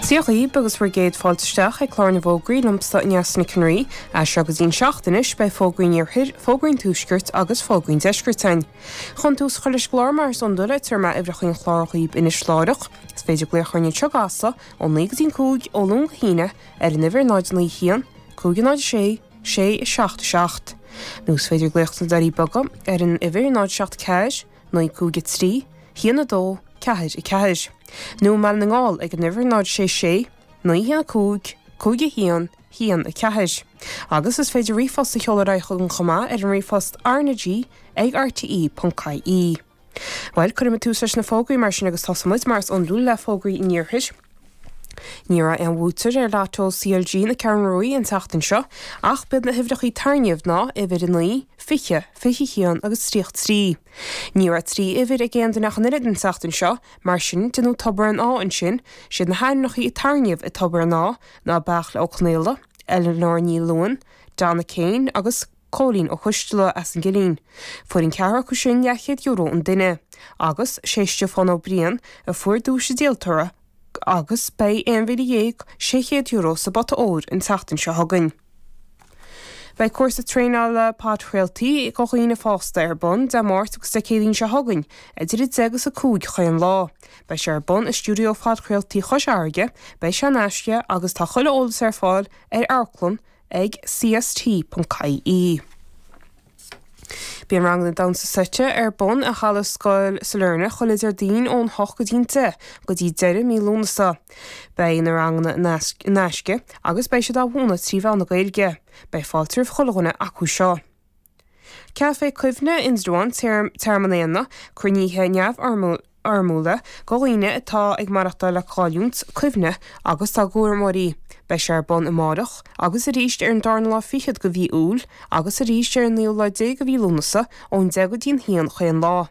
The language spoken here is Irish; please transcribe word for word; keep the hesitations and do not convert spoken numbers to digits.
Dia dhaoibh agus bhur gcéad fáilte isteach ag clár na bhfógraí liomsa Neasa Nic an Rí. As seo go dtí'n seacht anois beidh fógraí an iarthair, fógraí an tuaiscirt agus fógraí an deiscirt againn. Chun tús a chur leis an gclár mar is iondúil tabharfaidh mé uimhreacha an chláir dhaoibh anois láithreach. Is féidir glaoch orainn anseo i gCasla ó naoi go dtí'n cúig ó Luan go hAoine ar an uimhir náid naoi haon, cúig náid sé, sé seacht seacht. Nó is féidir glaoch sna Doirí Beaga ar an uimhir náid seacht ceathair, naoi cúig a trí, haon a dó, ceathair a ceathair. Nó i mBaile na nGall ag an uimhir náid sé sé, naoi haon a cúig, cúig a haon, haon a ceathair. Agus is féidir ríomhphost a sheoladh ar aghaidh chugainn chomh maith ar an ríomhphost RnaG ag rte ponc ie. Bhuel, cuirfidh muid tús leis na fógraí mar sin agus tosóidh muid mar is iondúil le fógraí an iarthair. Ní raibh aon bhuaiteoir ar Lotto CLG na Ceathrún Rua an tseachtain seo, ach b'iad na huimhreacha tarraingthe ná uimhir a naoi, fiche, fiche haon agus tríocha trí. Ní raibh trí uimhir ag aon duine ach an oiread an tseachtain seo, mar sin déanadh tobar an ádha ansin, siad na hainmneacha a tarraingíodh i dtobar an ádha ná Beairtle Ó Conaola, Eleanor Ní Luain, Donna Kane agus Cóilín Ó Coisteala as an gCillín. Fuair an ceathrar acu sin leathchéad euro an duine, agus sé Stiofán Ó Briain a fuair duais an díoltóra agus beidh aon mhíle dhéag sé chéad euro sa bpota óir an tseachtain seo chugainn. Beidh cúrsa traenála podchraoltaí do dhaoine fásta ar bun Dé Máirt agus Dé Céadaoin seo chugainn, idir a deich agus a cúig chaon lá. Beidh sé ar bun i stiúideo phodchraoltaí Chois Fharraige, beidh sé in aisce agus tá chuile eolas ar fáil ar amharclann ag cst.ie. Bíonn ranganna damhsa seite ar bun i halla Scoil Sailearna chuile Déardaoin ón hocht go dtí'n deich go dtí deireadh mí Lúnasa. Beidh na ranganna in aisce agus beidh siad á mhúineadh trí mheán na Gaeilge. Beidh fáilte roimh chuile dhuine acu seo. Café Cuimhne Indreabhán Tearmann Éanna, cruinnithe neamhfhoirmiúla do dhaoine atá ag maireachtáil le cailliúint cuimhne agus dá gcúramóirí. Beidh sé ar bun amárach agus arís ar an darna lá fichead de mhí Iúil agus arís ar an naoú lá déag de mhí Lúnasa ón deich go dtí'n haon chaon lá.